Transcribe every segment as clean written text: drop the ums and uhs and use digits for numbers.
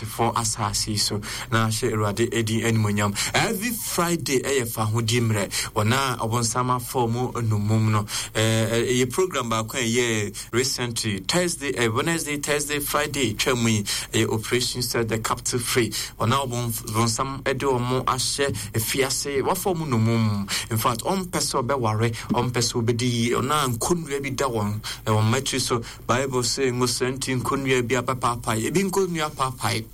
ateasefoɔ asase yi so na ahyɛ Awurade edin animuonyam. Every Friday ɛyɛ fahodie mmerɛ. Wɔn a ɔbonsam afa wɔn nnommum no, ɛyɛ program baako a ɛyɛ recently, Thursday, Wednesday, Thursday, Friday twa mu yi, ɛyɛ Operation Set the Captive Free. Wɔn a ɔbonsam de wɔn ahyɛ afiase, wafa wɔn nnommum. In fact, ɔmpɛ sɛ ɔbɛware, ɔmpɛ sɛ ɔbɛdi yie, ɔno a nkonnua bi da wɔn wɔn mmatiri so. Bible se ngosra nti nkonnua bi abɛpaapae, ebi nkonnua paapae.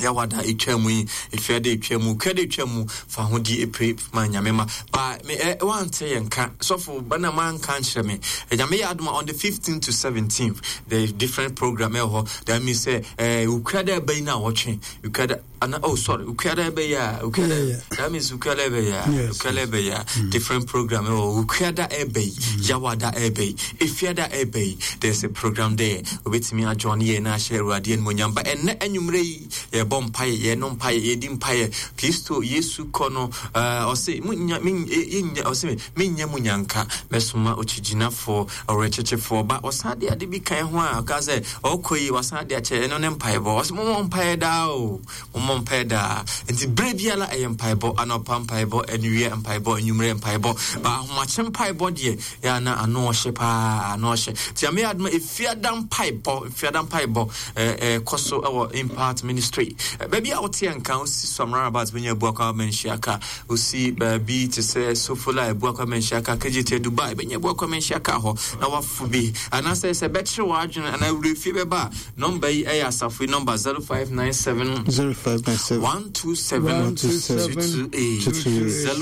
Yawada etwa mu yi, efiada etwa mu, kuada etwa mu, fa ho di epire ma nyame ma. Ba me ɛ wante yɛn ka, sɔfo ba na manka nkyerɛ me. Nyame yɛ adoma on the 15th to 17th, the different program ɛwɔ hɔ. That means sɛ eh kuada ɛbɛyi na wɔtwe, kuada ana oh sorry ukuada ɛbɛyɛ a ukuada that means ukuada ɛbɛyɛ a ukuada ɛbɛyɛ a mm. different program ɛwɔ ukuada ɛbɛyi mm. yawada ɛbɛyi efiada ɛbɛyi there's a program there obetumi adjoin yɛ na ahyɛ awurade animonyam ba ɛnɛ anwummerɛ yi yɛbɔ mpaeɛ yɛno mpaeɛ yɛdi mpaeɛ kristo yesu kɔ no ɛɛ ɔse munya minya ɔse minya mu nyanka mɛsoma okyigyinafoɔ ɔwerɛkyekyefoɔ ba ɔsan de ade bi kan ho a ɔka sɛ ɔkɔ yi wasan de akyɛ ɛno ne mpaebɔ ɔsɛ mommɔ mpaeɛ daa o mommɔ mpaeɛ daa nti berɛ biara ɛyɛ mpaebɔ anɔpa mpaebɔ anwia mpaebɔ anwummerɛ mpaebɔ ba ahomakye mpaebɔ deɛ yɛ ana ano ɔhye paa ano ɔhye nti ame adoma efiada mpaebɔ efiada mpaebɔ ɛɛ kɔ so ɛwɔ impact ministry baabi a wote nka wosi samara about bɛnya abuakwa manhyia ka Osi baabi te sɛ Sofola, Abuakwa Manhyia Car, Kejetia, Dubai, bɛnya Abuakwa Manhyia Car hɔ na wafo bi. Anaasɛ sɛ bɛkyere w'adwene anaa werɛfie bɛba a, nɔmba yi yɛ asafo yi nɔmba 0597 0597 127 228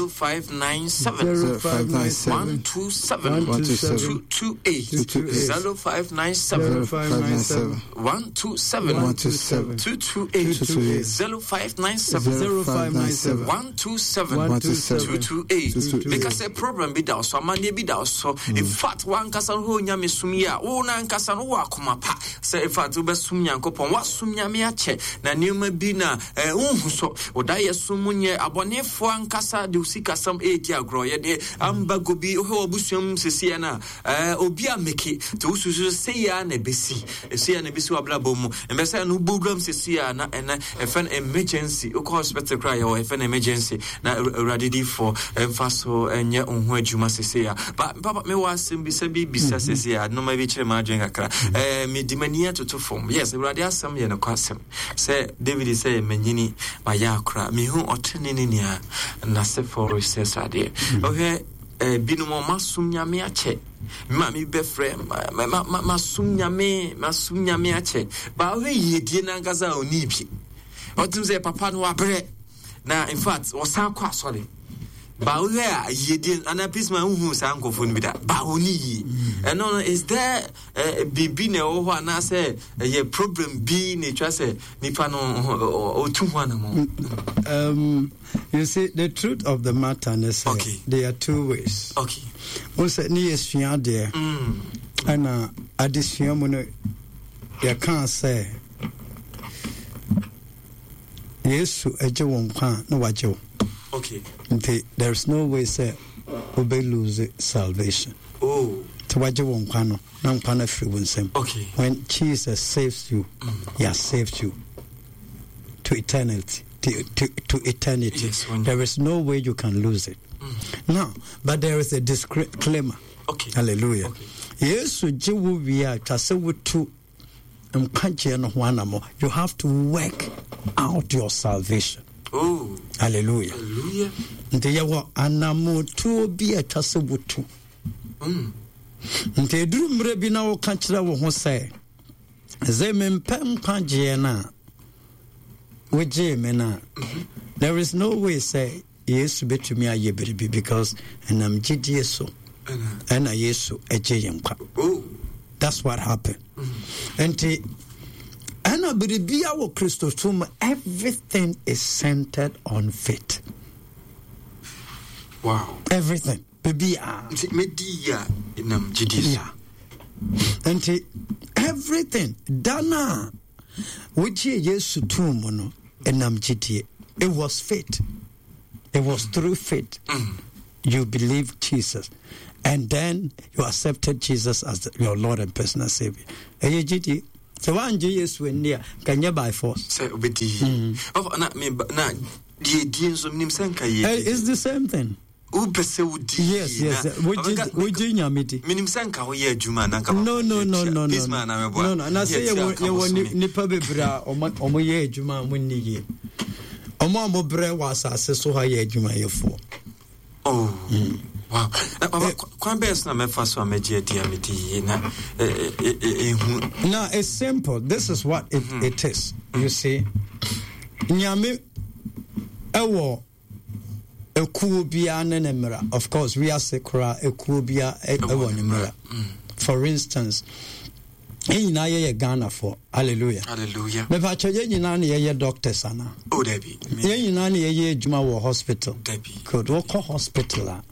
0597 0597 127 127 228 0597 0597 127 127 228 228 0597 0597 127 127 228 228. Meka sɛ problem bi da wo so amanneɛ bi da wo so in fact wankasa no hɔ nyame som yi a wo no ankasa no wowɔ akoma pa sɛ in fact wobɛsom nyankopɔn woasom nyame akyɛ na nneɛma bi na eh, wonhu so woda yɛ som mu nyɛ abɔnefoɔ ankasa de wo sikasɛm ɛredi agorɔ yɛde ambago bi wohwɛ wɔ mu sesiɛ no a Eh, obi a meke te wo susu sɛ sei ara na ɛbɛsi sei ara na ɛbɛsi w'abrabɔ mu mbɛ sɛ ɛno wobɔ wuram sɛsi a na ɛnɛ ɛfɛ no emergency wokɔ hospital koraa yɛwɔ ɛfɛ no emergency na awurade difoɔ ɛmfa so ɛnyɛ wo ho adwuma sɛsi a ba papa mewɔ asɛm bisa bi bisa mhm. sɛsi a noma bi kyerɛ m'adwene kakra mhm. eh, mede m'ani atoto fam yes awurade asɛm yɛ nokwasɛm sɛ david sɛ manyini mayɛ akora mehu ɔtene ne nea n'asefoɔ resɛ sradeɛ ɔhwɛ mhm. Eh, binom ɔmo asom nyame akyɛ. Me maame bi bɛfrɛ, ma, ma, ma, masom nyame, masom nyame akyɛ. Ba ɔhwɛ yiedie n'ankasa a ɔnii bi. Ɔtum sɛ papa no wabrɛ. Na in fact, ɔsan kɔ asɔre. Ba wohwɛ a yiedie anaa peace man wohu saa nkurɔfoɔ no bi da. Ba ɔni yie. Ɛno no, is there eh, biribi na ɛwɔ hɔ anaasɛ ɛyɛ problem bi na ɛtwa sɛ nipa no ɔtu ho anamɔ? You see, the truth of the matter is okay. there are two ways. Okay. Wo sɛ ne yɛ sua adeɛ ɛna adesua mu no yɛkaa sɛ Yesu agye wo nkwa a na wagye wo. Okay. Nti there is no way sɛ wobɛ lose salvation. Oh. Nti wagye wo nkwa no na nkwa no afiri wo nsam. Okay. When Jesus saves you, he has saved you to eternity. To, to, to eternity. Yes, there is no way you can lose it. Now, but there is a disclaimer. Okay. Hallelujah. Okay. Yesu gye wo wie a twa sɛ wotu nkwagyeɛ no ho anammɔ. You have to work out your salvation. Oh. Hallelujah. Hallelujah. Nti yɛwɔ anammɔtuo bi a ɛtwa sɛ wotu. Nti ɛduru mmerɛ bi na woka kyerɛ wo ho sɛ sɛ mempɛ nkwagyeɛ no a wogyee me no a there is no way sɛ yesu bɛtumi ayɛ biribi because ɛnam gyidie so ɛna yesu agye yɛn nkwa Oh. that's what happened nti ɛna biribia wɔ kristosom mu everything is centered on faith Wow. everything biribiaa Nti medi yie a ɛnam gyidie so. Yeah. Nti everything da no a wogyee Yesu too mu no ɛnam gyidie. It was faith. It was through faith. You believed Jesus. And then you accepted Jesus as your Lord and personal Savior. Ɛyɛ gyidie. Sɛ woangye Yesu anni a, nka nyɛ by force. Sɛ wobɛdi yie. Ɔfa na me ba na deɛ die nso menim sɛ nka yɛ. Eh, it's the same thing. Wopɛ sɛ wodi Yes, yes. Wogye wogye Nyame di. Menim sɛ nka woyɛ adwuma na nka No, no, no, no, no. Peace man na meboa. No, no. Na sɛ yɛwɔ yɛwɔ nipa bebree a ɔmo ɔmo yɛ adwuma a ɔmo nni yie. Ɔmo a ɔmo brɛ wɔ asase so ha yɛ adwumayɛfoɔ. Oh, mm. Wow. Na papa, eh, kwan bɛyɛ so na mɛfa so a mɛgye adi a medi yie na ehu. Now it's simple. This is what it, mm -hmm. it is. You see, Nyame ɛwɔ ekuo biara ne ne mmara. Of course, wiase koraa ekuo biara ɛwɔ ne mmara. Mm. For instance, yɛn nyinaa yɛyɛ Ghanafoɔ. Hallelujah. Hallelujah. Mepakyɛ yɛn nyinaa na yɛyɛ doctors ana? Oh, dabi. Yɛn nyinaa na yɛyɛ adwuma wɔ hospital. Dabi. Good. Wokɔ hospital a,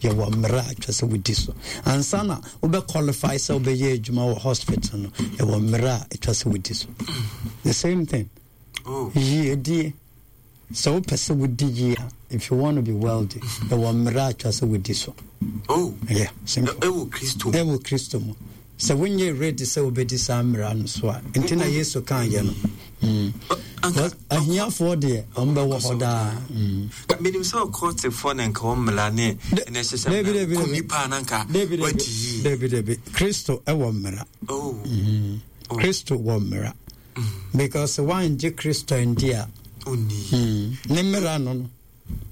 yɛwɔ mmerɛ a atwa sɛ wodi so. Ansa na wobɛ qualify sɛ wobɛyɛ adwuma wɔ hospital no, yɛwɔ mmerɛ a atwa sɛ wodi so. The same thing. Oh. Yiedie. Sɛ wopɛ sɛ wodi yie a, if you want to be wealthy, ɛwɔ mmerɛ a atwa sɛ wodi so. Oh. Yeah, simple. Ɛwɔ Kristo mu. Ɛwɔ Kristo mu. Sɛ wonyɛ ready sɛ wobɛdi saa mmara no so a, nti na Yesu kaa yɛ no. Mm. Ahiafoɔ deɛ, wɔn bɛwɔ hɔ daa. Mm. Menim sɛ ɔkɔtefoɔ na nka wɔn mmara ne ɛna ɛhyehyɛ mmara kɔ nipa na nka wadi yie. Dabi dabi, Kristo ɛwɔ mmara. Oh. Mm. Oh. Kristo wɔ mmara. Because wangye Kristo andi a, ne mmara no no.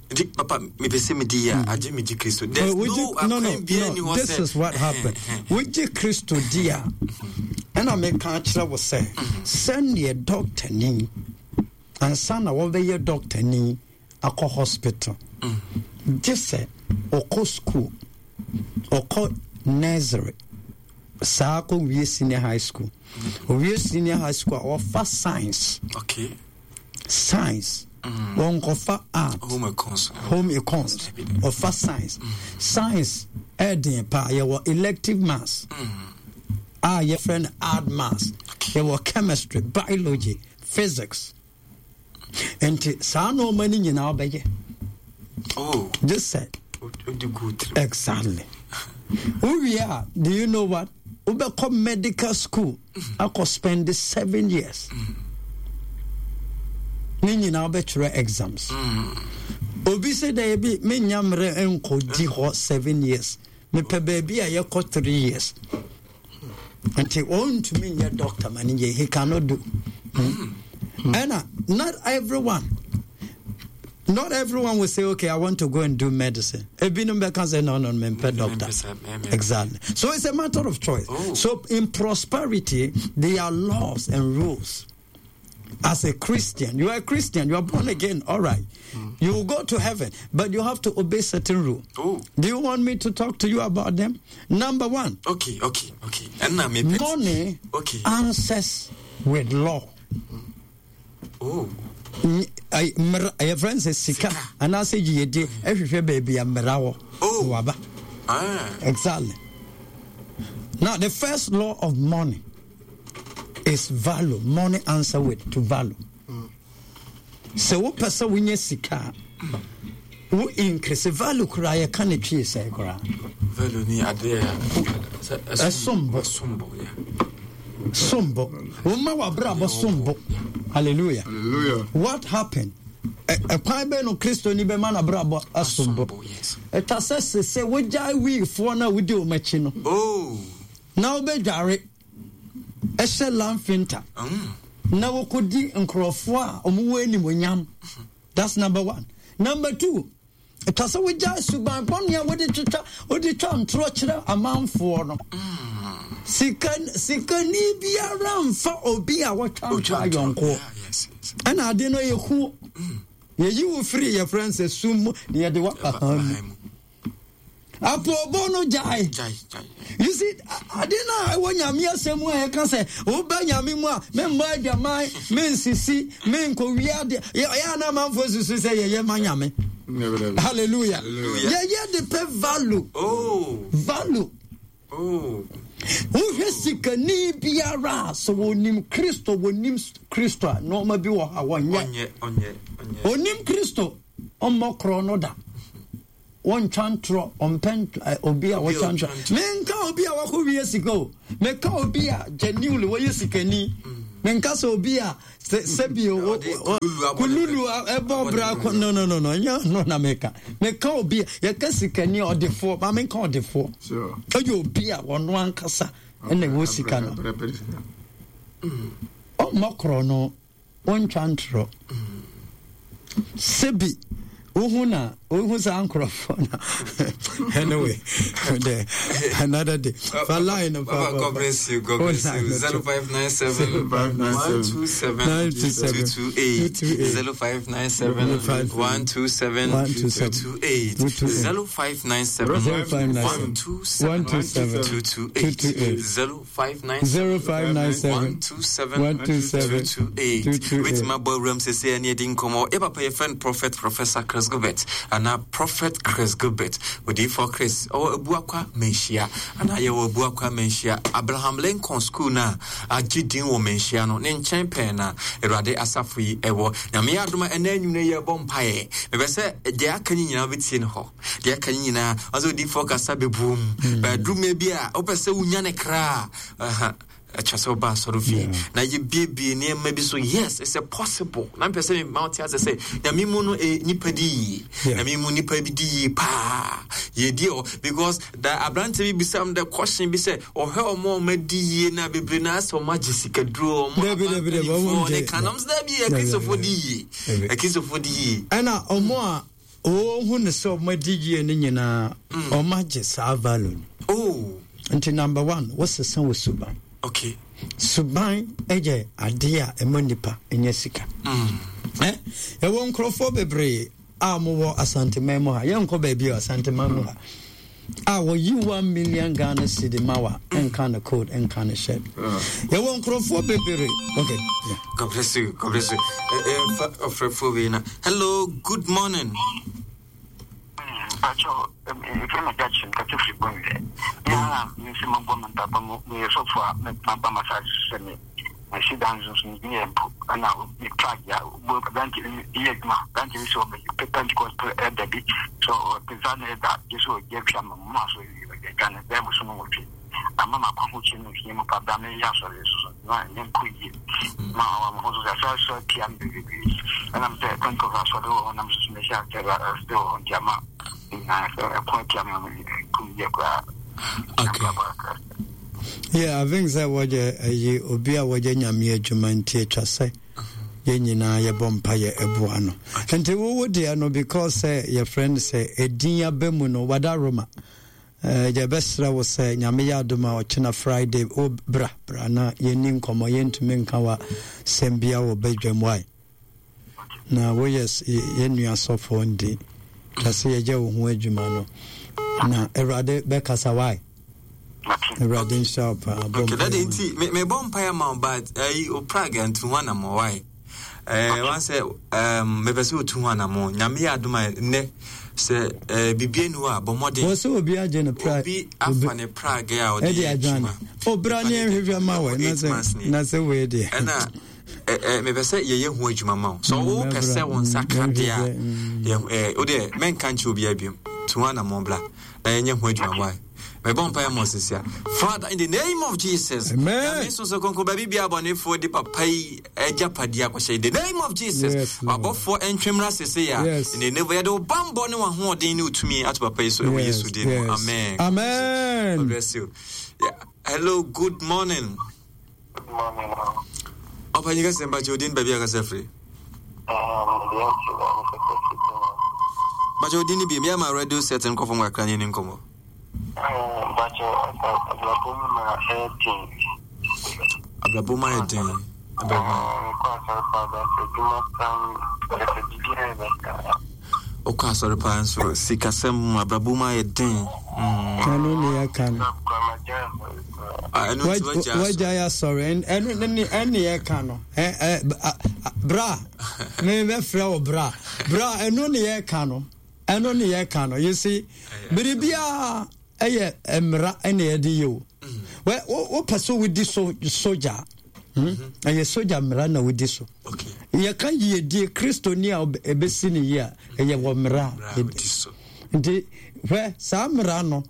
Nti papa mepɛ sɛ medi yie a agye megye Kristo. There's no no no no this is what happened. Wogye Kristo di a, ɛna meka akyerɛ wo sɛ sɛdeɛ dɔktani ansa na wɔbɛyɛ dɔktani akɔ hospital gye sɛ ɔkɔ school ɔkɔ nursery saa kɔ wie senior high school owie senior high school a ɔfa science okay. science wɔnkɔfa art home econs home econs ɔfa science science ɛɛden paa yɛwɔ elective maths a yɛfrɛ no art maths yɛwɔ chemistry biology physics nti saa nneɛma no nyinaa ɔbɛyɛ oh. gye sɛ exactly wowie a do you know what wobɛkɔ medical school akɔ spend 7 years ne nyinaa wobɛtwerɛ exams obi sɛ dɛ bi menya mmerɛ nkɔdi hɔ 7 years mepɛ baabi a yɛkɔ 3 years nti ɔntumi nyɛ doctor ma no yɛ he cannot do ɛna not everyone will say, "Okay, I want to go and do medicine." Ebinom bɛka sɛ, No, mempɛ doctor." Exactly. So it's a matter of choice. Oh. So in prosperity, there are laws and rules. As a Christian, you are a Christian, you are born again, all right. You will go to heaven, but you have to obey certain rules. Oh. Do you want me to talk to you about them? Number one, Okay. Ɛna mepɛ. Money answers with law. Oh. Mmara yɛfrɛ no sɛ sika anaasɛ yiyedie ɛhwehwɛ baabi a mmara wɔ Oh. waba. Ah. Exactly. Now the first law of money is value. Money answer with to value. Sɛ wopɛ sɛ wonya sika a wo increase value koraa yɛka ne twee sɛ koraa. Value ni adeɛ a Ɛsom bo. Ɛsom bo, yeah. Sombo. Woma w'abrabɔ sombo. Hallelujah. Hallelujah. What happened? Ɛkwan bɛn no Kristoni bɛma n'abrabɔ asombo? Sombo, yes. Ɛta sɛ sese wogyae wiifoɔ no a wodi wɔn akyi no Oh. na wobɛdware ɛhyɛ lamfinta na wokɔdi nkurɔfoɔ a wɔwɔ animonyam. That's number one. Number two, ɛtwa sɛ wogyae suban bɔne a wode twitwa wode twa ntorɔ kyerɛ amanfoɔ no. Sika sikani biara mfa obi a wɔtwa ntorɔ ayɔnkoɔ. Yeah, yes. Ɛna ade no yɛ hu. Yɛyi wo firi yɛfrɛ no sɛ sum mu na yɛde woaba hann mu. Mu. Apoobɔ no gyae. Gyae, gyae. You see, ade no a ɛwɔ Nyame asɛm mu a yɛka sɛ woba Nyame mu a memmɔ adwaman, mensisi, menkɔwia ade. Ɛyɛ a na amanfoɔ susu sɛ yɛyɛ ma Nyame. Never, never. Hallelujah. Hallelujah. Yɛyɛ de pɛ value. Oh. Value. Oh. Wohwɛ sikani biara a sɛ wɔnim Kristo, wɔnim Kristo a nneɛma bi wɔ ha wɔnyɛ. Ɔnyɛ, ɔnyɛ, ɔnyɛ. Onim Kristo, ɔmmɔ korɔ no da. Wɔntwa ntorɔ, ɔmpɛ obi a wɔtwa ntorɔ. Menka obi a wakɔ wie sika o. Meka obi a genuinely wɔyɛ sikani. Menka sɛ obi a sɛbi kululu ɛbɔ bra ko no no no no ɛnyɛ no na meka. Meka obi a yɛka sikani ɔdefoɔ, ma menka ɔdefoɔ. Ɛyɛ obi a ɔno ankasa ɛna ɛwɔ sika no. Ɔmmɔ korɔ no. Wontwa ntorɔ. Sebi wohu na wohu saa nkurɔfoɔ na anyway the another day fa line no fa God bless you God bless you 0597 127 228 0597 127 228 0597 127 228 0597 127 228 wetumi abɔ awuram sɛsɛ ɛne ɛdi nkɔmmɔ yɛ papa yɛfrɛ no prophet professor Chris Gilbert anaa prophet Chris Gilbert odiyifoɔ Chris ɔwɔ Abuakwa Manhyia anaa yɛwɔ Abuakwa Manhyia Abraham Lincoln school no a agye din wɔ Manhyia no ne nkyɛn pɛɛ na Awurade asafo yi ɛwɔ. Nyame yɛ adom a ɛnɛ anwummerɛ yɛbɔ mpaeɛ. Mepɛ sɛ deɛ aka ne nyinaa wobɛtie no hɔ. Deɛ aka ne nyinaa ɔsɛ odiyifoɔ kasa bɛbuom. Bɛaduru mmerɛ bi a wopɛ sɛ wonya ne kra a, ɛkyɛ sɛ woba asɔre fie na yɛbiebie nneɛma bi so. Yes, it's a possible. Na mepɛ sɛ mema wote ase sɛ Nyame mu no eh, nipa di yie. Nyame mu nipa bi di yie paa. Yɛdi hɔ because da aberante bi bisa m the question bi sɛ ɔhwɛ ɔmo a ɔmo adi yie na bebree na asɛ ɔmo agye sikaduro ɔmo abanpanimfoɔ ne kanam sɛ dabi akristofoɔ di yie. Akristofoɔ di yie. Ɛna ɔmo a Wɔhu no sɛ wɔn adi yie no nyinaa mm. wɔn agye saa value no. Oh. Nti number one wosesa wo suban. Okay. Suban yɛ adeɛ a ɛma nipa nyɛ sika. Mm. Eh? Ɛwɔ nkurɔfoɔ bebree a wɔwɔ Asanteman mu ha yɛnkɔ baabi a Asanteman mu ha. A wɔyi 1 million Ghana cedi ma wa nka no code nka no hyɛ yɛwɔ nkurɔfoɔ bebree okay yeah. God bless you God bless you ɔfrɛfoɔ wei na hello, good morning. Mpacho, efe me Jackson kasa firi Bonwire. Me ara me nso mabɔ me mpaebɔ mu meyɛ sɔfo a maba m'asase so sɛ me masi dan nso nso meyɛ mpo ɛna me plug ya bo aberante bi yɛ adwuma aberante bi sɛ ɔbɛ Pentecost ɛda bi sɛ ɔte nsa na ɛda gye sɛ ɔgye atwa ma mu aso adwane bɛɛ bosom 8 ama makɔ ahokyere no hia mu pa bra meyɛ asɔre nso so na ɛnyɛ nkɔ yie ma ɔwɔ mo ho so sɛ asɔre asɔre tia me bebree ɛnam sɛ Pentecost asɔre wɔ hɔ nam so so mehyɛ asɔre asɔre wɔ hɔ nti ama nyinaa sɛ ɛko atia me nkɔ yie koraa. Okay. Yeah, I think sɛ wɔyɛ ɛyi obi a wɔyɛ nyame adwuma nti atwa sɛ yɛn nyinaa yɛbɔ mpa yɛ ɛboa no. Nti wowo deɛ no because sɛ yɛfrɛ no sɛ ɛdin aba mu no wada Roma. Eh, yɛbɛsrɛ wo sɛ nyame yɛ adom a ɔkyena Friday wo bra bra na yɛnni nkɔmmɔ, yɛntumi nka wa sɛm bia wɔ badwam wae. Na woyɛ yɛn nua sɔfoɔ nti twa sɛ yɛgya wo ho adwuma no na awurade bɛkasa wae. Awurade nhyira wo paa. Bɔ okay, daddy, nti mebɔ mpaeɛ ma wo but ayi o prag ntu ho anammɔ wae. Eh, wan sɛ um, mepɛ sɛ otu ho anammɔ. Nyame yɛ adom a nnɛ sɛ eh, biribi ani hɔ a bɔ mmɔden. Wɔ sɛ obi agye ne prag. Obi afa ne prag a ɔde yɛ adwuma. Obra ne ɛhwehwɛ ma wɔ na sɛ wei deɛ. Ɛna mepɛ sɛ yɛyɛ ho adwuma ma wo sɛ wopɛ sɛ wo nsa ka deɛ a wodeɛ mɛnka nkyerɛ obiaa biom to ho anammɔ bra na yɛnyɛ ho adwuma wae mebɔ mpaeɛ ma ɔsesia. Father, in the name of Jesus, Amen. Nyame so so kronkron baabi bia abɔnefoɔ de papa yi agyapadeɛ akɔhyɛ, in the name of Jesus, Yes, Lord. wabɔfoɔ ntwemra sese a Yes. in the name yɛde wo bammɔ ne w'ahoɔden ne wo tumi ato papa yi so ɛwɔ Yes, Yesu din mu. yes. Amen. Amen. God bless you. Yeah. Hello, good morning. Good morning. Ɔpanyin kɛse mpakyɛ odin baabi akasa firi. Mpakyɛ odin ni bi mi ama radio set nkɔfo mu kakra ne ni nkɔmɔ. Mpakyɛ abrabɔ mu ma ɛyɛ den. Abrabɔ mu ayɛ den. Kɔ asɔre paa ba sɛ adwuma paa ɛsɛ biribi ayɛ bɛsa. Wokɔ asɔre paa nso sikasɛm mu abrabɔ mu ayɛ den. Ɛno ne yɛka no. Ɛno nti wagya asɔre. Wagya yɛ asɔre ɛno ne ɛne yɛka no. Bra mebɛfrɛ wo bra bra ɛno ne yɛka no ɛno ne yɛka no. You see, biribiara ɛyɛ mmara ɛna yɛde yɛ o. Wopɛ sɛ wodi so sogya, ɛyɛ sogya mmara na wodi so. Yɛka yiedie kristoni a ɛbɛsi ne yie a ɛyɛ wɔ mmara. Nti hwɛ saa mmara no,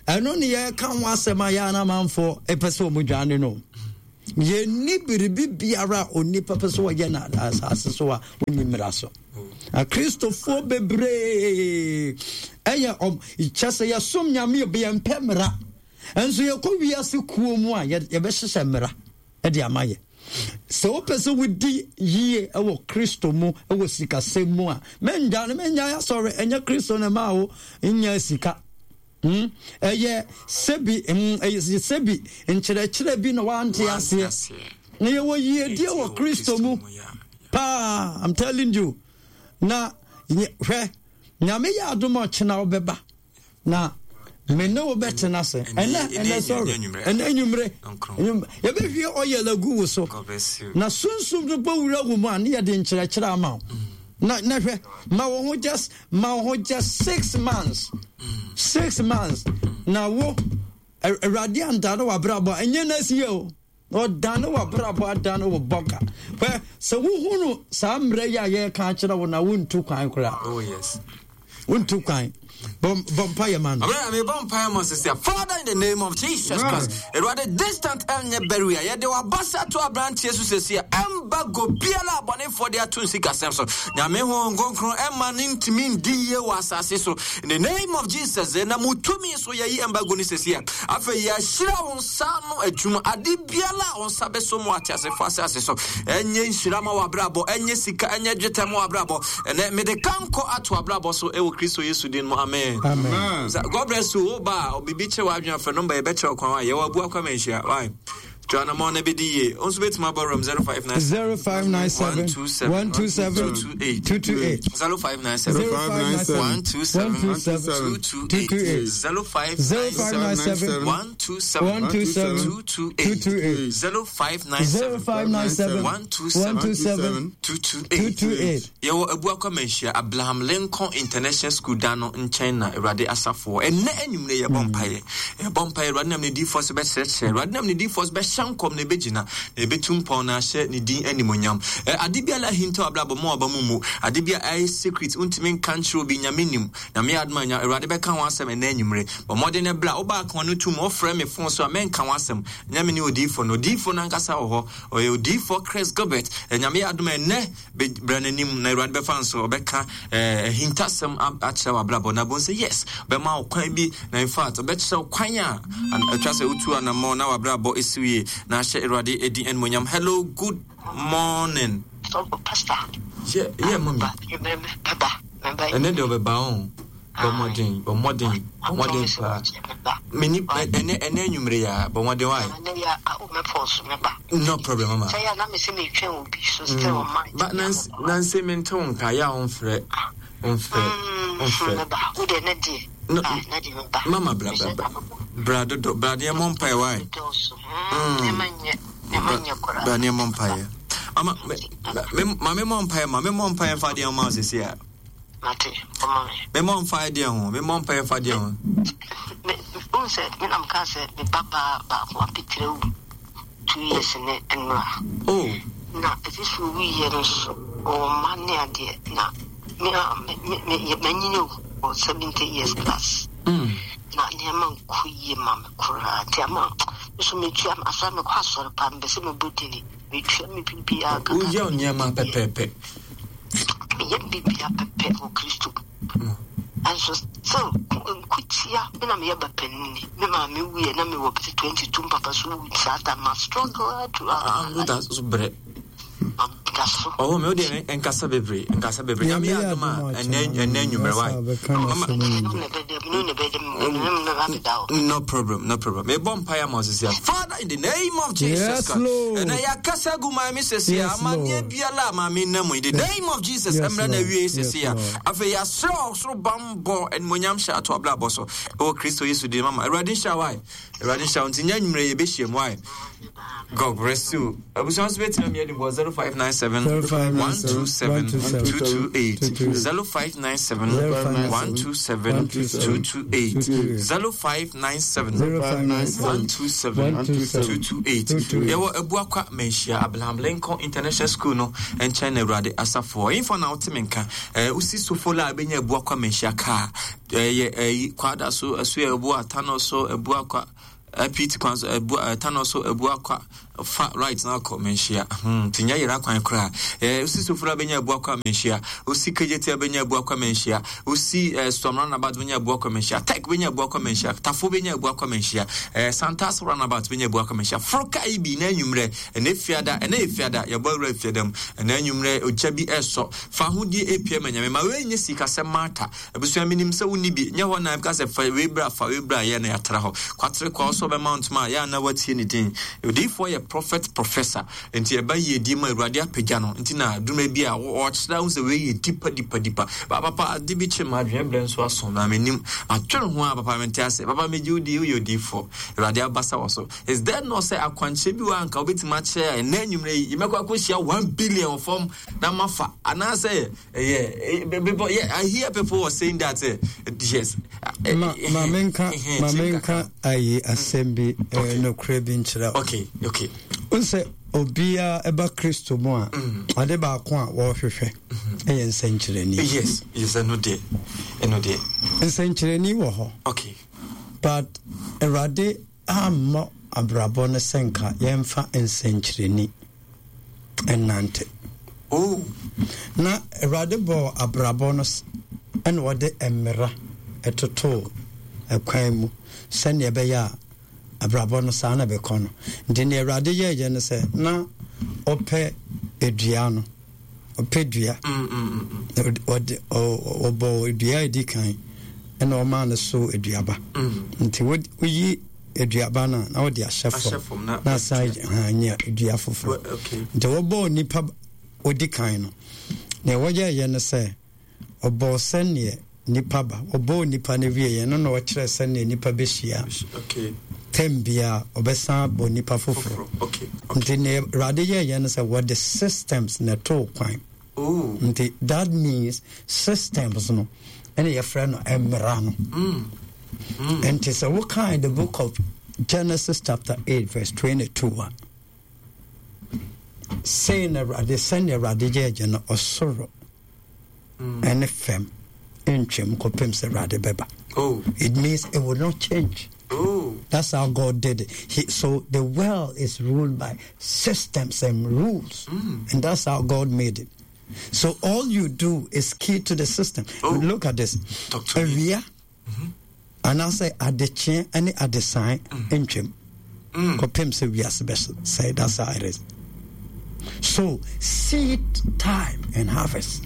ɛno ne yɛka ho asɛm a yɛ anamanfoɔ ɛpɛ sɛ ɔmo dwane no. Yɛnni biribi biara a onipa pɛ sɛ ɔyɛ no asase so a ɔnni mmara so. Akristofoɔ bebree ɛyɛ ɔm kyɛ sɛ yɛsom Nyame yɛmpɛ mmara. Nso yɛkɔ wiase kuo mu a yɛbɛhyehyɛ mmara de ama yɛ. Sɛ wopɛ sɛ wodi yie wɔ Kristo mu wɔ sikasɛm mu a, mɛndwane, mɛnyae asɔre. Ɛnyɛ Kristo na ɛmaa wo nyaa sika. Hmm? Ɛyɛ sɛbi, hmm, ɛyɛ sɛbi nkyerɛkyerɛ bi na wante aseɛ. Na yɛwɔ yiedie wɔ Kristo mu paa, I'm telling you. Na hwɛ, Nyame yɛ adom a ɔkyena wobɛba. Na me ne wo bɛtena ase ɛnɛ ɛnɛ sɔre ɛnɛ anwummere yɛbɛhwie ɔyɛl agu wo so na sunsum no bɛwura wo mu a ne yɛde nkyerɛkyerɛ ama wo mm. na na hwɛ ma wo ho just ma wo ho just 6 months 6 months na wo Awurade andane w'abrabɔ a ɛnyɛ na asi yɛ o. Ɔdane w'abrabɔ adane wo bɔka. Hwɛ, sɛ wohunu saa mmerɛ yi a yɛreka akyerɛ wo na wontu kwan koraa. Oh, yes. Wontu kwan. Bɔ mpaeɛ ma no. Abena mebɔ mpaeɛ ma sisi a. Father, in the name of Jesus Christ. Awurade distant ɛnyɛ barrier. Yɛde w'abasa to aberanteɛ so sisi a. Ɛmba biara abɔnefoɔ de ato nsikasɛm so. Nyame Honhom Kronkron ɛma ne ntumi ndi yie wɔ asase so. In the name of Jesus, na mu tumi so yɛyi embargo no sisi a. Afei yɛahyira wo nsa ano adwuma, ade biara a wo nsa bɛso mu ateasefo asase so. Ɛnyɛ nhyira ma w'abrabɔ, ɛnyɛ sika, ɛnyɛ dwetɛ ma w'abrabɔ. Ɛnɛ mede kankɔ ato abrabɔ so ɛwɔ Kristo Yesu din mu. Amen. Amen. God bless you. Wo ba a biribi kyerɛ w'adwene afɛ nɔmba yɛbɛkyerɛ kwan a yɛwɔ abu akwa manhyia. Why? Tu anamɔn na bɛdi yie. Wo nso bɛtumi abɔ wura mu 0597 0597 127 127 228 228 0597 0597 127 127 228 0597 0597 127 127 228 228 0597 0597 127 127 228 228. Yɛwɔ Abuakwa Manhyia, Abraham Lincoln International School dan no nkyɛn na Awurade asafo wɔ. Ɛnnɛ anwummere yɛbɔ mpaeɛ. Yɛbɔ mpaeɛ, Awurade nam ne diyifoɔ so bɛkyerɛkyerɛ. Awurade nam ne diyifoɔ so bɛhyɛ nkɔm na ɛbɛgyina, na ɛbɛtu mpɔn na ahyɛ ne din animuonyam. Ɛ, ade biara ahintaw abrabɔ ma waba mu mmu. Ade bi a ɛyɛ secret, wontumi nka nkyerɛ obi, Nyame nim. Nyame yɛ adom a, nya, Awurade bɛka ho asɛm ɛnnɛ anwummere. Bɔ mmɔden na bra. Wobaa ka w'ano tom, wofrɛ me fon so a, mɛnka ho asɛm. Nyɛ me ne odiyifoɔ no. Odiyifoɔ no ankasa wɔ hɔ. Ɔyɛ odiyifoɔ Chris Gilbert. Ɛ, Nyame yɛ adom a, ɛnnɛ, Bra n'anim na Awurade bɛfa nso ɔbɛka eh, ahintasɛm akyerɛ w'abrabɔ na bohu sɛ yes, ɔbɛma wo kwan bi na in fact ɔbɛkyerɛ wo kwan a atwa sɛ wotu anammɔn na w'abrabɔ esiw yie na ahyɛ Awurade edi animuonyam. Hello, good morning. Oh, Pastor. Yeah, yeah, mommy. Ɛnɛ deɛ ɔbɛba ho. Bɔ mmɔden, bɔ mmɔden, bɔ mmɔden paa. Meni ɛnɛ ɛnɛ anwummere ya, bɔ mmɔden wa. No problem mama. Ba nansi nansi mi nte wo nka ya wo nfrɛ nfrɛ nfrɛ. No, mama bra bra bra bra dodo bra deɛ mɔ mpae wa. Bra deɛ mɔ mpae. Mama me me mame mɔ mpae ma me mɔ mpae nfa deɛ ma sisi a. Mate, ɔma me. Me mɔ mpae deɛ ho, me mɔ mpae fa deɛ ho. Me, wohu sɛ, me na mekaa sɛ me ba baa baako apetire wu 2 years ne nnora. Oh. Na ɛfi so owuiɛ no nso, ɔwɔ mma ne adeɛ, na me a, me, me, me, manyini o, wɔ 70 years plus. Na nneɛma nkɔ yie ma me koraa, nti ama, me nso metua, asɔre, mekɔ asɔre paa, mepɛ sɛ mebɔ dini, metua me biribiara kakra. Woyɛ wo nneɛma pɛpɛɛpɛ. Meyɛ biribiara pɛpɛ wɔ Kristo mu. Nanso still nkotia me na meyɛ ba panini. Me maame wuiɛ na mewɔ bɛsɛ 22 mpapa so wu saa time ma struggle throughout my life. Da so brɛ. Da so. Ɔwɔ me o deɛ nkasa bebree nkasa bebree. Nyame yɛ adom a ɛnɛ ɛnɛ anwummerɛ wae. No problem, no problem. Mebɔ mpaeɛ ama wo sisi a. Father, in the name of Jesus Yes, Christ. Lord. Ɛnɛ yɛakasa gu maame sisi a. Yes, Amanneɛ Lord. biara a maame nam mu. In the name of Jesus, Yes, ɛmmerɛ na Lord. awie Yes, sisi a. Lord. Afei yɛasrɛ ɔsoro bammɔ animuonyam hyɛ ato abrabɔ so. Ɛwɔ Kristo Yesu din mama. Awurade nhyira wo ae. Awurade nhyira wo. Nti nyɛ anwummerɛ yɛbɛhyia mu ae. God bless you. Abusua nso bɛtumi amia de bɔ 0597. 0597 127 228 0597 127 228 0597 127 228 Yɛwɔ Abuakwa Manhyia Abraham Lincoln International School no nkyɛn na Awurade asafo wɔ. Ɛhefa na wote me nka? Eh, wosi Sofola a ɛbɛnya Abuakwa Manhyia kaa. Ɛyɛ ɛyi Kwada so, ɛso yɛ Abua Tano so, Abuakwa Pete kwan so, Abua Tano so, Abuakwa fa right na akɔ Manhyia. Hmm, nti nyɛ yera kwan koraa. Eh, wosi Sofola bɛnya Abuakwa Manhyia. Wosi Kejetia bɛnya Abuakwa Manhyia. Wosi eh, Suam Runabout bɛnya Abuakwa Manhyia. Tech bɛnya Abuakwa Manhyia. Tafo bɛnya Abuakwa Manhyia. Eh, Santas Runabout bɛnya Abuakwa Manhyia. Foro kaa yi bi na anwummerɛ, ɛnɛ fiada, ɛnɛ yɛ fiada, yɛbɔ awura fiada mu. Ɛnɛ anwummerɛ, ogya bi ɛsɔ. Fa ahodie epia ma Nyame. Ma wei nyɛ sikasɛm matter. Abusua menim sɛ wonni bi, nyɛ hɔ na ɛbɛka sɛ fa wei bra, fa wei bra, yɛ na yɛatra hɔ. Kwatere kwa ɔsɛ ɔbɛma wo ntoma a, yɛ a na watie ne din. Odiyifoɔ yɛ prophet professor, nti ɛba yiedie mu a Awurade apagya no, nti na dwuma bi a ɔkyerɛ ahu sɛ wei yɛ dipa dipa dipa. Ba papa ade bi kye m'adwene berɛ nso aso na menim. Matwene ho a papa mente ase. Papa megye wo di, woyɛ odiyifoɔ. Awurade abasa wɔ so. Is there not sɛ akwankyerɛ bi wɔ a anka wobɛtumi akyerɛ a ɛnnɛ anwummerɛ yi yɛmɛkɔ akɔhyia 1 billion wɔ fam na mafa anaasɛ Yeah, people, yeah, I hear people were saying that. Yes. Ma ma menka ma menka ayi asɛm bi nokorɛ bi nkyerɛ. Okay, okay. Nsɛ obiara ɛba Kristo mu a ade baako a wɔrehwehwɛ ɛyɛ nsɛnkyerɛnni. Yes, yes, ɛno deɛ, ɛno deɛ. Nsɛnkyerɛnni wɔ hɔ. Okay. But Awurade ammɔ abrabɔ no sɛ nka yɛmfa nsɛnkyerɛnni nnante. Oh. Na Awurade bɔɔ abrabɔ no ɛna ɔde mmara ɛtotoo ɛkwan mu sɛnea ɛbɛyɛ a abrabɔ no saa na ɛbɛkɔ no. Nti nea Awurade yɛɛyɛ no sɛ na ɔpɛ dua no, ɔpɛ dua. Ɔde ɔbɔɔ dua a ɛdi kan ɛna ɔmaa no so aduaba. Nti woyi aduaba no a na wode ahyɛ fam na asan anya dua foforɔ. Nti wɔbɔɔ nipa odi kan no, nea wɔyɛɛyɛ no sɛ Ɔbɔɔ sɛdeɛ nipa ba. Ɔbɔɔ nipa no wieɛ no na ɔkyerɛ sɛdeɛ nipa bɛhyia. Tɛm biara ɔbɛsan abɔ nipa foforɔ. Nti nea Awurade yɛɛyɛ no sɛ wɔde systems na ɛtoo kwan. Oh. Nti that means systems no ɛna yɛfrɛ no mmara no. Mm. Mm. Nti sɛ wokae the book of Genesis chapter 8 verse 22 a sei na Awurade sɛnea Awurade yɛɛyɛ no ɔsoro ɛne fam ntwam kɔpem sɛ Awurade bɛba. Oh. It means it will not change. Oh. That's how God did it. So the world is ruled by systems and rules. And that's how God made it. So all you do is key to the system. Oh. Look at this. Talk to me. Awia anaasɛ adekyeɛ ne adesae ntwam kɔpem sɛ wiase bɛsɛe. That's how it is. So seed time and harvest,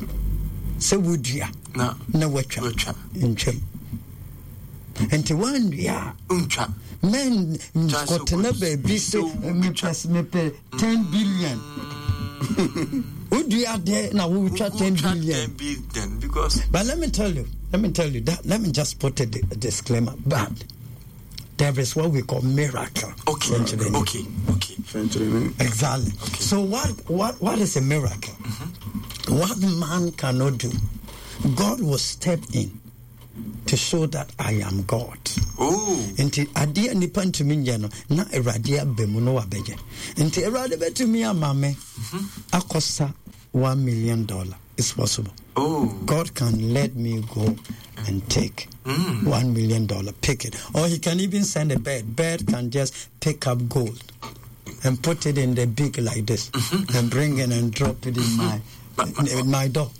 sɛ wodua na watwa ntwam. Nti woannua a ntwa men kɔtena baabi sɛ mepɛ 10 billion. Wodua adeɛ na wotwa 10 billion. 10 billion because But let me tell you, let me tell you that, let me just put a disclaimer. But there is what we call miracle. Okay. Okay. Okay. Exactly. Okay. So what is a miracle? What man cannot do, God will step in to show that I am God. Oh. Nti adeɛ nipa ntumi nyɛ no na Awurade aba mu na wabɛyɛ. Nti Awurade bɛtumi ama me akɔsa $1 million. It's possible. Oh. God can let me go and take $1 million, pick it. Or he can even send a bird. Bird can just pick up gold and put it in the beak like this and bring it and drop it in my door.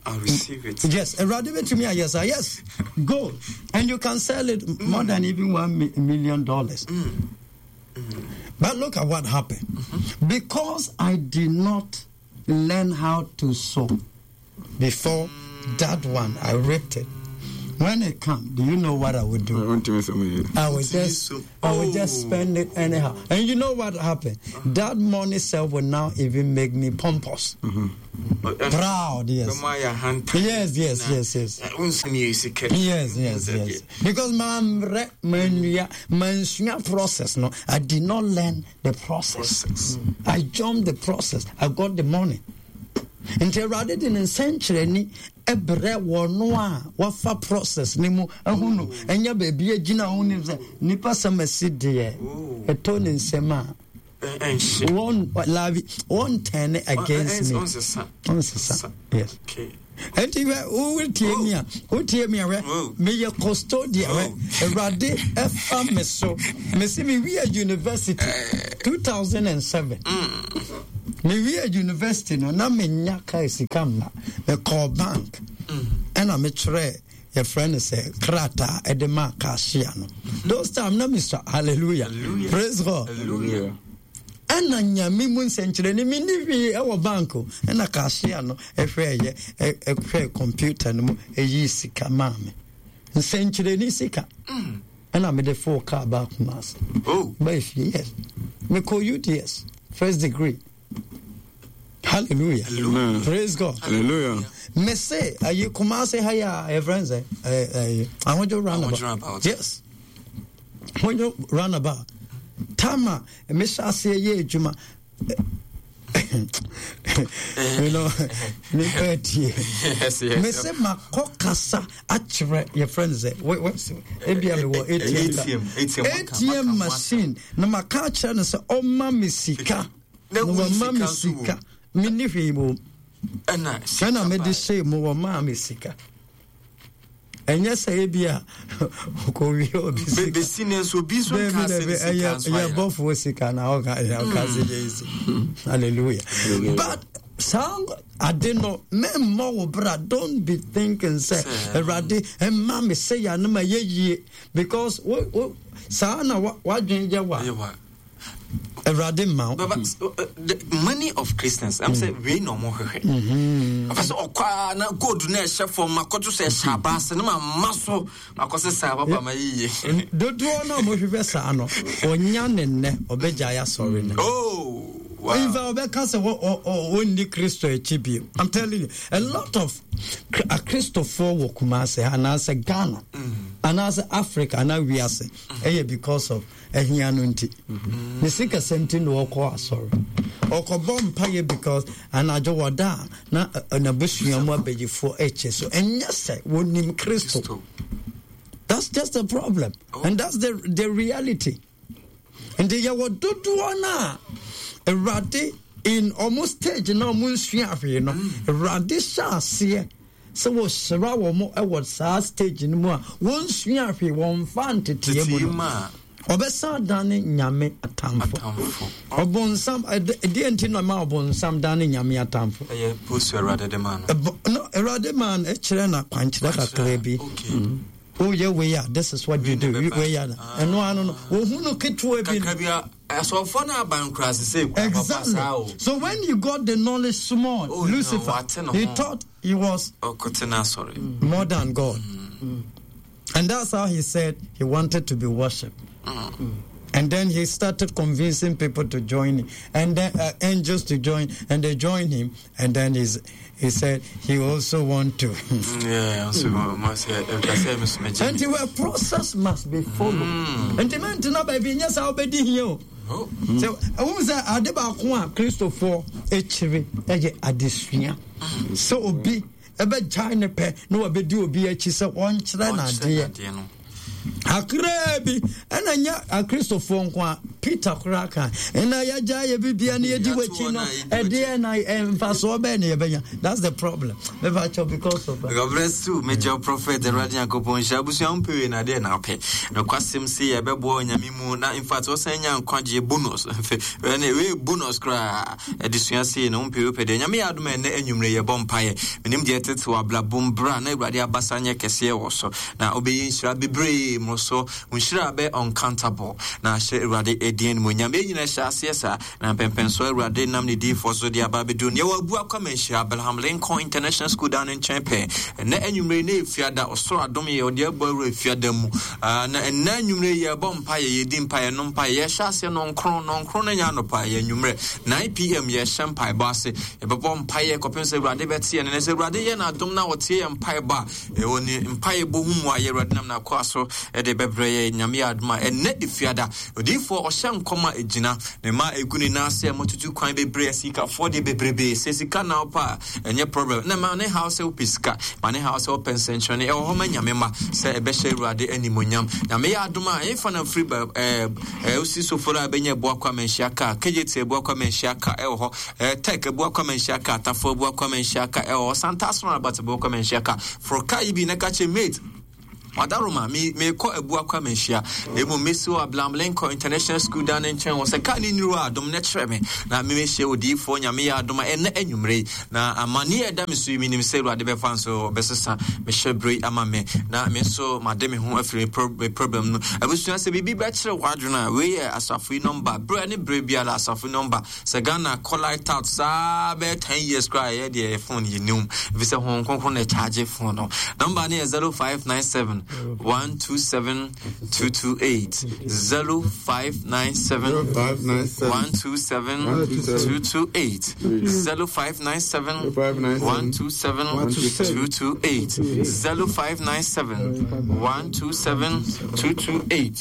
I'll receive it. Yes, Awurade bɛtumi ayɛ saa. Yes, gold. And you can sell it more than even one million dollars. But look at what happened. Because I did not learn how to sow before that one, I ripped it. When it comes, do you know what I would do? I would just I would just spend it anyhow. And you know what happened? That money self will now even make me pompous. Mm-hmm. Proud, yes. Yes, yes, yes, yes. Yes, yes, yes. Because my my process, no, I did not learn the process. process. I jumped the process. I got the money. Nti Awurade de ne nsɛnkyerɛnne brɛ wɔn a wɔafa process no mu ahu no ɛnyɛ baabi agyina ho nim sɛ nipa sɛm asi deɛ ɛtɔ ne nsɛm a wɔn labi wɔn turn against me ɔnsesa yes ɛnti hwɛ wotie mi a wotie mi a hwɛ meyɛ custodian hwɛ awurade ɛfa me so mesi me wie university 2007 Mewiee university no na menya kaa sika mma. Mekɔɔ bank ɛna metwerɛɛ yɛfrɛ no sɛ krataa ɛde maa cashier no. Those time na mesua hallelujah. Praise God. Ɛna nyame mu nsɛnkyerɛnne menni hwee ɛwɔ bank o. Ɛna cashier no ɛhwɛɛyɛ ɛhwɛɛ computer no mu ɛyii sika maa me. Nsɛnkyerɛnne sika. Mm. Ɛna mede foo car baa Kumasi. Oh. Baa fie yes. Mekɔ UTS first degree. Hallelujah. Hallelujah. Praise God. Hallelujah. Me say ayi Kumasi ha ya eh friends eh eh Ahodwo roundabout. Yes. Ahodwo roundabout. Tama me hyɛ aseɛ yɛ adwuma you know nipa atie me sɛ makɔ kasa akyerɛ yɛfrɛ no sɛ ebia mewɔ atm atm machine na maka akyerɛ no sɛ ɔma me sika na wama me sika menni hwee mu ɛna mede hyɛɛ mu wɔmaa me sika ɛnyɛ sɛ ebi a ɔkɔwie obi sika bɛsi ne nso obi nso nka sɛ ne sika nso ayɛ bɔfoɔ sika na ɔka ɔka sɛ yɛ esi hallelujah but saa ade no mɛmmɔ wo bra don't be thinking sɛ awurade ɛma me sɛ yɛ anoma yɛ yie because wo wo saa na wadwen yɛ wa Awurade mma wo. Baba, the money of Christians, I'm saying wei na ɔmo hwehwɛ. Ɔfɛ sɛ ɔkɔ a na gold na ɛhyɛ fam makɔto sɛ ɛhyɛ aba ase na ma ma so makɔ sɛ saa papa ma yiye. Dodoɔ na ɔmo hwehwɛ saa no, ɔnya ne nnɛ ɔbɛgyae asɔre no. Oh. Wow. In fact, ɔbɛka sɛ ɔnni Kristo akyi bio. I'm telling you, a lot of Akristofoɔ wɔ Kumasi anaasɛ Ghana anaasɛ Africa anaa wiase ɛyɛ because of ahia no nti ne sikasɛm nti na ɔkɔ asɔre ɔkɔbɔ mpaeɛ because anadwo wɔda a na n'abusua mu abayifoɔ ɛkyɛ so ɛnyɛ sɛ wɔnim Kristo. That's just the problem and that's the reality. Nti yɛwɔ dodoɔ no a Awurade in ɔmo stage na ɔmo nsua hwee no Awurade hyɛ aseɛ Sɛ wɔhyira wɔn wɔ saa stage no mu a, wɔnsua hwee, wɔmfa nteteɛ mu no, ɔbɛsan adane Nyame atamfo. Ɔbonsam, ɛdeɛ nti na ma ɔbonsam dane Nyame atamfo? Ɛyɛ post Awurade de maa no. No, Awurade maa no, ɛkyerɛ na kwankyerɛ kakra bi. Woyɛ wei a, this is what you do. Wei a, ɛno ano no, wɔhu no ketewa bi. Kakra bi a, Asɔfoɔ no aba nkurase sɛ kura papa saa o. So when he got the knowledge small, oh, Lucifer, no, he thought he was more than God. And that's how he said he wanted to be worshipped. And then he started convincing people to join him, and then angels to join, and they joined him. And then he's, he said he also want to. Yeah, also, And the process must be followed. And the man to not be yes, I'll be here. So, I won't say ade baako a Kristofoɔ akyiri ɛyɛ adesua. Sɛ obi ɛbɛgyae ne pɛ na wabɛdi obi akyi sɛ ɔnkyerɛ no adeɛ. Kakraa bi, ɛna nyɛ Akristofoɔ nko a, Peter koraa ka, ɛna yɛagya yɛ bibia na yɛdi w'akyi no, ɛdeɛ na mfasoɔ bɛɛ na yɛbɛnya. That's the problem. Mɛfa kyɛw because of. God bless you, major prophet. Awurade Nyankopɔn nhyira abusua ho pɛwei na adeɛ na apɛ. Nokwasɛm se yɛbɛboa Onyame mu na in fact wɔsan nya nkwagyeɛ bonus. Ɛne wei bonus koraa. Adesua sei no wompɛ wopɛ deɛ Nyame yɛ adom a ɛnɛ anwummere yɛbɔ mpaeɛ. Menim deɛ ɛtete wɔ abrabom bra na Awurade abasa nyɛ kɛseɛ wɔ so. Na wobɛyɛ nhyira bebree mmoroso. Wo nhyira bɛ uncountable. Na hyɛ Awurade din animuonyam. Yɛn nyinaa hyɛ aseɛ saa, na mpɛmpɛnsoɔ Awurade nam ne diyifoɔ so de aba abɛduru no. Yɛwɔ Abu Akwa Manhyia, Abraham Lincoln International School dan no nkyɛn pɛɛ. Ɛnnɛ anwummere yi na Efiada, ɔsoro adom yɛ, ɔde abɔ awura Efiada mu. Ah, na ɛnnɛ anwummere yi yɛrebɔ mpaeɛ, yɛredi mpaeɛ, yɛnom mpaeɛ, yɛrehyɛ aseɛ nɔnkron, nɔnkron no nyɛ anɔpa, ɛyɛ anwummerɛ. 9 pm yɛrehyɛ mpaebɔ ase. Yɛbɛbɔ mpaeɛ kɔpem sɛ Awurade bɛte yɛn nne. Na sɛ Awurade yɛ n'adom na ɔtie yɛn mpaebɔ a, Wɔ ne mpaebɔ ho mmuaeɛ Awurade nam n'akoa so de bɛbrɛ yɛn. Nyame yɛ adom a, ɛnnɛ Efiada, odiyifoɔ ɔhyɛ nkɔm a ɛgyina ne mma a ɛgu ne nan ase a moatutu kwan bebree, asikafoɔ deɛ bebrebee, sɛ sika na wopɛ a, ɛnyɛ problem. Na ma ne haw sɛ wopɛ sika, ma ne haw sɛ wopɛ nsɛnkyerɛnne, ɛwɔ hɔ ma Nyame mma sɛ ɛbɛhyɛ Awurade animuonyam. Nyame yɛ adom a, ɛmfa na mfiri ba ɛɛ ɛɛ wosi soforo a ɛbɛnya Abuakwa Manhyia kaa, KJT Abuakwa Manhyia kaa ɛwɔ hɔ. Eh, Tech Abuakwa Manhyia Car, Tafo Abuakwa Manhyia Car, ɛwɔ hɔ, Santase Roundabout Abuakwa Manhyia Car. Foro car yi bi na ka kyerɛ mate, Wadaroma, me mekɔ Abuakwa Manhyia. Na mmom mesi wɔ Abraham Lincoln International School dan no nkyɛn hɔ. Sɛ car no nnuru hɔ a, dom na kyerɛ me. Na memehyia odiyifoɔ Nyame yɛ adom a ɛnnɛ anwummere yi. Na amanneɛ a ɛda me so yi, menim sɛ Awurade bɛfa nso ɔbɛsesa me hyɛberɛ yi ama me. Na me nso made me ho afiri me problem no. Abusua, sɛ biribi bɛkyere w'adwene a, wei yɛ asafo yi nɔmba. Berɛ ne berɛ biara, asafo yi nɔmba. Sɛ Ghana kɔ light out saa bɛyɛ 10 years koraa yɛ deɛ yɛ phone yɛ nim ɛfiri sɛ Honhom Kronkron na ɛcharge phone no. Number no yɛ 0597 127 228 0597 127 228 0597 127 228 0597 127 228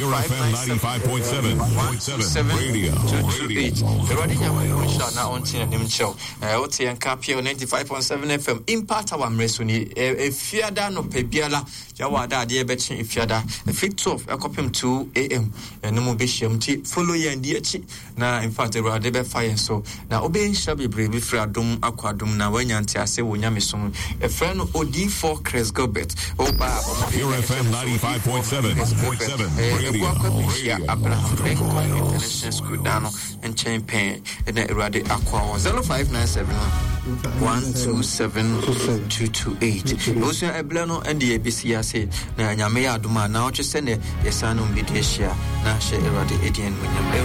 0597 127 228. Awurade Nyankopɔn nhyira na ɔnte n'anim nkyerɛ wo. Eh, wote yɛn nka PL 95.7 FM Impact Hour mmerɛ so ni. Eh, efiada nɔpɛ biara yɛwɔ ada adeɛ bɛkye efiada ɛfiri 12 ɛkɔpem 2 am ɛno mu bɛhyia mu nti follow yɛn di akyi Na in fact Awurade bɛfa yɛn so na wobɛyɛ nhyira bebree bɛfiri adom akɔ adom na woanya ntease wɔ nyamesom. Yɛfrɛ no Odiyifoɔ Chris Gilbert. Woba a bɔ mmɔden na ɛhyɛ no so Odiyifoɔ Chris Gilbert. Ɛyɛ Abuakwa Bɛhyia Abraham Lincoln International School dan no nkyɛn pɛɛ na Awurade akoa wɔ 0597 127 228. Abusua ɛberɛ no ɛnde yɛbɛsi ase na Nyame yɛ adom a naawɔtwe sɛdeɛ yɛsan nom bɛdi ahyia na hyɛ Awurade ɛdi animuonyam.